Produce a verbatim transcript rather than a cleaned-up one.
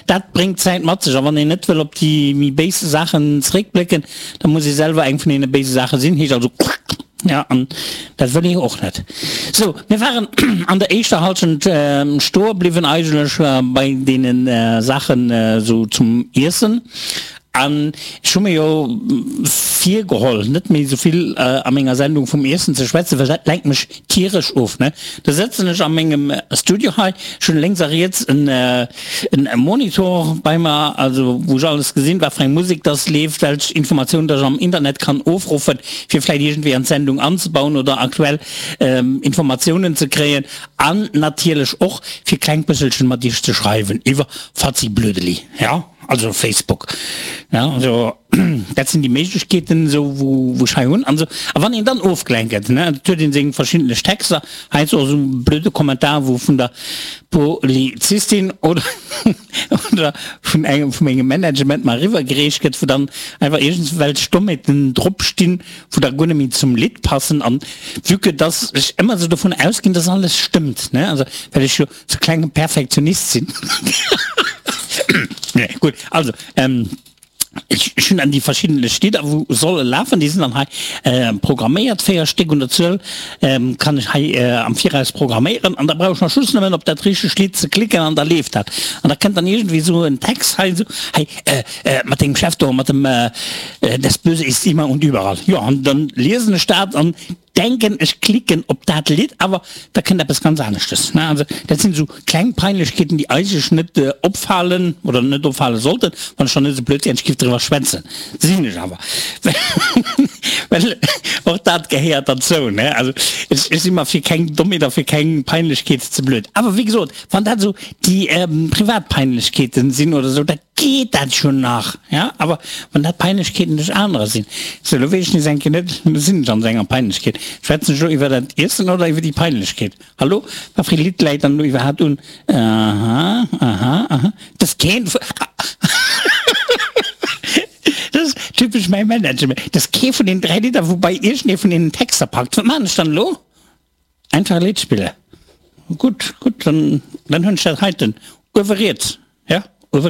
Dat bréngt d'Zäit mat sech. A wann een net wëll op déi méi béis Saachen zeréckblécken, da muss ee selwer eng vun deene béise Saache sinn. Heescht also, ja, an dat wëll ee och net. Sou, mir waren an der éischter Halschent stoe bliwwen eigentlech bei deene Saachen esou zum Iessen. An ech hu mir jo virgeholl, net méi esou vill a menger Sendung vum Iessen ze schwätzen, well dat lenkt mech tieresch of. Ne? Da sëtzen ech a mengem Studio hei, ech hunn lénks a riets en Monitor bei mer, also wou ech alles gesinn, wat fir eng Musek dass leeft, welch Informatiounen dass ech am Internet kann ofruffen, fir vläicht iergendwéi an d'Sendung anzebauen oder aktuell Informatiounen ze kréien an natierlech och fir kleng bësselchen mat iech ze schreiwen iwwer Fatzi-Blödeli. Ja. Also Facebook, ja, also dat sinn déi Méiglechkeeten esou wou wou ech hei hunn an esou. A wann een dann ofgelenkt gëtt, ne, et huet een seng verschiddenlech Texter, heiansdo och esou e blöde Kommentar wou vun der Polizistin oder oder vun engem vu mengem Management mer eriwwergereecht gëtt, wou dann einfach iergendwelch Dommheeten drop stinn, wou da guer net méi zum Lidd passen. An vue que dass ech ëmmer esou dovun ausginn, dass alles stëmmt, ne, also well ech jo sou klenge Perfektionist sinn. Nee, gutt, also, ähm, ech, ech hunn dann déi verschiddenlech Lidder, wou solle lafen, déi sinn dann hei äh, programméiert, véier Stéck un der Zuel, ähm, kann ech hei äh, am Viraus programméieren an da brauch ech nach just nëmmen op dat richtegt Lidd ze klicken an da leeft dat. An da kënnt dann iergendwéi esou en Text hei, esou, hei, äh, äh, mat dengem Chef do, mat dem äh, Das Böse ist immer und überall. Jo, an dann liesen ech dat an denken ech klicken op dat Lidd, awer da kënnt eppes ganz aneschtes. Also dat sinn esou kleng Peinlechkeeten, déi eigentlech net opfalen oder net opfale sollten, wann ech dann net esou blöd wär an ech giff driwwer schwätzen. Sinn ech awer, well och dat gehéiert derzou. Also ech si mer fir keng Dommheet a fir keng Peinlechkeet ze blöd. Awer wéi gesot, wann dat esou déi privat Peinlechkeeten sinn oder esou, dat Geet dat schon nach? Ja, awer wann dat Peinlechkeeten duerch anerer sinn. Sou, lo weess ech nees eng Kéier net, lo sinn ech an esou enger Peinlechkeet. Schwätzen ech lo iwwer dat Iessen oder iwwer déi Peinlechkeet? Hallo? Wat fir ee Lidd läit dann lo iwwerhaapt un? Aha, aha, aha, dat ass keen vu, dat ass typesch mäi Management, dat ass kee vun deenen dräi Lidder, wou bei iergendee vun deenen Texter packt. Wat maachen ech dann elo? Einfach e Lidd spillen. Gutt, gutt, dann, dann hunn ech dat heiten uewe riets.